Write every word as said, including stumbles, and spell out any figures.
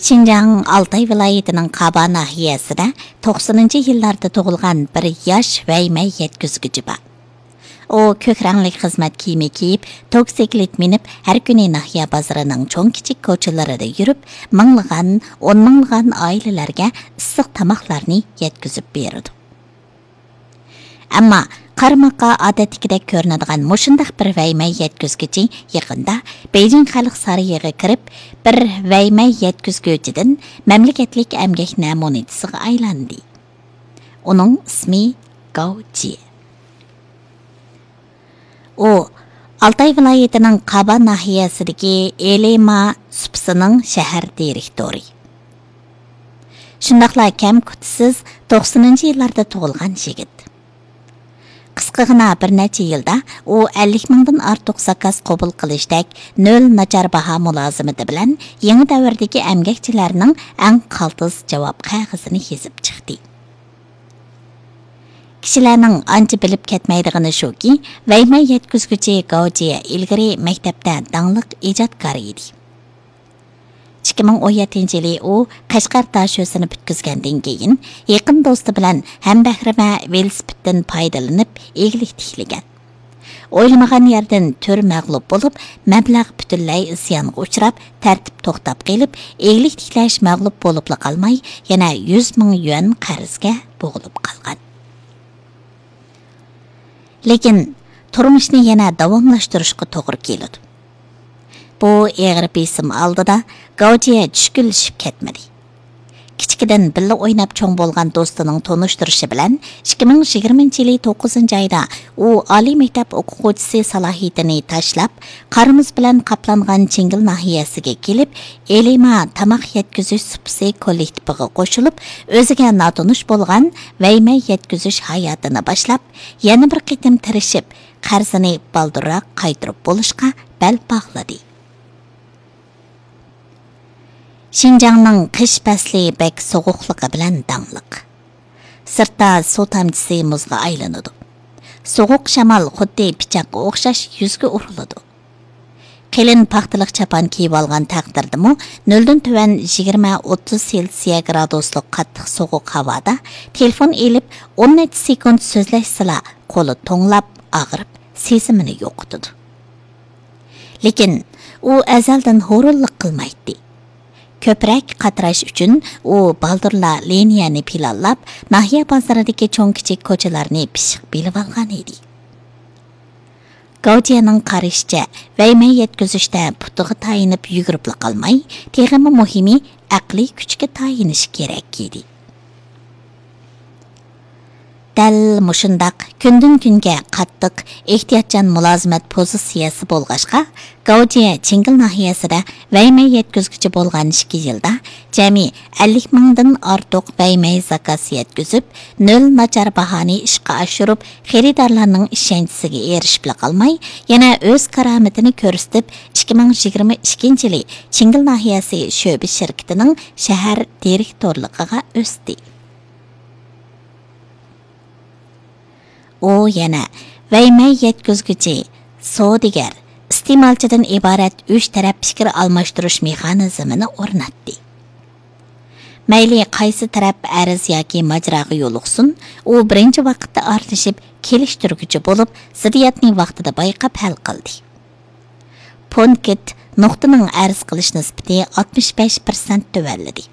شىنجاڭ ئالتاي ۋىلايىتىنىڭ قابا ناھىيەسىدە توقسىنىنچى يىللاردا تۇغۇلغان بىر ياش ۋەيمەي يەتكۈزگۈچى بار. ئۇ كۆك رەڭلىك خىزمەت كىيىمى كىيىپ، توكسىكلىت مىنىپ، ھەر كۈنى ناھىيە بازىرىنىڭ چوڭ-كىچىك كوچىلىرىدا يۈرۈپ، مىڭلىغان، ئون مىڭلىغان ئائىلىلەرگە ئىسسىق تاماقلارنى يەتكۈزۈپ بېرىدۇ. ئەمما قارىماققا ئادەتتىكىدەك كۆرۈنىدىغان مۇشۇنداق بىر ۋەيمەي يەتكۈزگۈچى يېقىندا بېيجىڭ خەلق سارىيىغا كىرىپ، بىر ۋەيمەي يەتكۈزگۈچىدىن مەملىكەتلىك ئەمگەك نەمۇنىچىسىغا ئايلاندى. ئۇنىڭ ئىسمى گاۋ جيې. ئۇ ئالتاي ۋىلايىتىنىڭ قابا ناھىيەسىدىكى ئېلىما سۇپىسىنىڭ شەھەر دىرېكتورى. شۇنداقلا كەم-كۈتىسىز توقسىنىنچى يىللاردا تۇغۇلغان يىگىت. قىسقىغىنا بىر نەچچە يىلدا ئۇ ئەللىك مىڭدىن ئارتۇق زاكاز قوبۇل قىلىشتەك نۆل ناچار باھا مۇلازىمىتى بىلەن يېڭى دەۋردىكى ئەمگەكچىلەرنىڭ ئەڭ قالتىس جاۋاب قەغىزىنى يېزىپ چىقتى. كىشىلەرنىڭ ئانچە بىلىپ كەتمەيدىغىنى شۇكى، ۋەيمەي يەتكۈزگۈچى گاۋ جيې ئىلگىرى مەكتەپتە داڭلىق ئىجادكار ئىدى. ئىككى مىڭ ئون يەتتىنچى يىلى ئۇ قەشقەر داشۆسىنى پۈتكۈزگەندىن كېيىن، يېقىن دوستى بىلەن ھەمبەھرىمە ۋېلىسىپىتتىن پايدىلىنىپ ئىگىلىك تىكلىگەن. ئويلىمىغان يەردىن تۈر مەغلۇپ بولۇپ، مەبلەغ پۈتۈنلەي زىيانغا ئۇچراپ، تەرتىپ توختاپ قېلىپ، ئىگىلىك تىكلەش مەغلۇپ بولۇپلا قالماي، يەنە يۈز مىڭ يۈەن قەرزگە بوغۇلۇپ قالغان. لېكىن تۇرمۇشنى يەنە داۋاملاشتۇرۇشقا توغرا كېلىدۇ. بۇ ئېغىر بېسىم ئالدىدا گاۋ جيې چۈشكۈنلىشىپ كەتمىدى. كىچىكىدىن بىللە ئويناپ چوڭ بولغان دوستىنىڭ تونۇشتۇرۇشى بىلەن، ئىككى مىڭ يىگىرمىنچى يىلى توققۇزىنچى ئايدا ئۇ ئالىي مەكتەپ ئوقۇغۇچىسى سالاھىيىتىنى تاشلاپ، قار-مۇز بىلەن قاپلانغان چىڭگىل ناھىيەسىگە كېلىپ، ئېلىما تاماق يەتكۈزۈش سۇپىسى كوللېكتىپىغا قوشۇلۇپ، ئۆزىگە ناتونۇش بولغان ۋەيمەي يەتكۈزۈش ھاياتىنى باشلاپ، يەنە بىر قېتىم تىرىشىپ، قەرزىنى بالدۇرراق قايتۇرۇپ بولۇشقا بەل باغلىدى. شىنجاڭنىڭ قىش پەسلى بەك سوغۇقلۇقى بىلەن داڭلىق. سىرتتا سۇ تامچىسى مۇزغا ئايلىنىدۇ. سوغۇق شامال خۇددى پىچاققا ئوخشاش يۈزگە ئۇرۇلىدۇ. قېلىن پاختىلىق چاپان كىيىۋالغان تەقدىردىمۇ، نۆلدىن تۆۋەن يىگىرمە ئوتتۇز سېلسىيە گرادۇسلۇق قاتتىق سوغۇق ھاۋادا تېلېفون ئېلىپ، ئون نەچچە سېكۇنت سۆزلەشسىلا، قولى توڭلاپ، ئاغرىپ، سېزىمىنى يوقىتىدۇ. لېكىن ئۇ ئەزەلدىن ھۇرۇنلۇق قىلمايتتى. كۆپرەك قاتراش ئۈچۈن ئۇ بالدۇرلا لىنىيەنى پىلانلاپ، ناھىيە بازىرىدىكى چوڭ-كىچىك كوچىلارنى پىششىق بىلىۋالغان ئىدى. گاۋجيەنىڭ قارىشىچە، ۋەيمەي يەتكۈزۈشتە پۇتىغا تايىنىپ يۈگۈرۈپلا قالماي، تېخىمۇ مۇھىمى، ئەقلىي كۈچكە تايىنىش كېرەك ئىدى. دەل مۇشۇنداق كۈندىن-كۈنگە قاتتىق، ئېھتىياتچان مۇلازىمەت پوزىتسىيەسى بولغاچقا، گاۋجيە چىڭگىل ناھىيەسىدە ۋەيمەي يەتكۈزگۈچى بولغان ئىككى يىلدا جەمئىي ئەللىك مىڭدىن ئارتۇق ۋەيمەي زاكاز يەتكۈزۈپ، نۆل ناچار باھانى ئىشقا ئاشۇرۇپ، خېرىدارلارنىڭ ئىشەنچىسىگە ئېرىشىپلا قالماي، يەنە ئۆز كارامىتىنى كۆرسىتىپ، ئىككى مىڭ يىگىرمە ئىككىنچى يىلى چىڭگىل ناھىيەسى شۆبە شىركىتىنىڭ شەھەر دىرېكتورلۇقىغا ئۆستى. ئۇ يەنە ۋەيمەي يەتكۈزگۈچى، سودىگەر، ئىستېمالچىدىن ئىبارەت ئۈچ تەرەپ پىكىر ئالماشتۇرۇش مېخانىزمىنى ئورناتتى. مەيلى قايسى تەرەپ ئەرز ياكى ماجىراغا يولۇقسۇن، ئۇ بىرىنچى ۋاقىتتا ئارىلىشىپ، كېلىشتۈرگۈچى بولۇپ، زىددىيەتنى ۋاقتىدا بايقاپ ھەل قىلدى. پونكىت نۇقتىنىڭ ئەرز قىلىش نىسبىتى ئاتمىش بەش پىرسەنت تۆۋەنلىدى.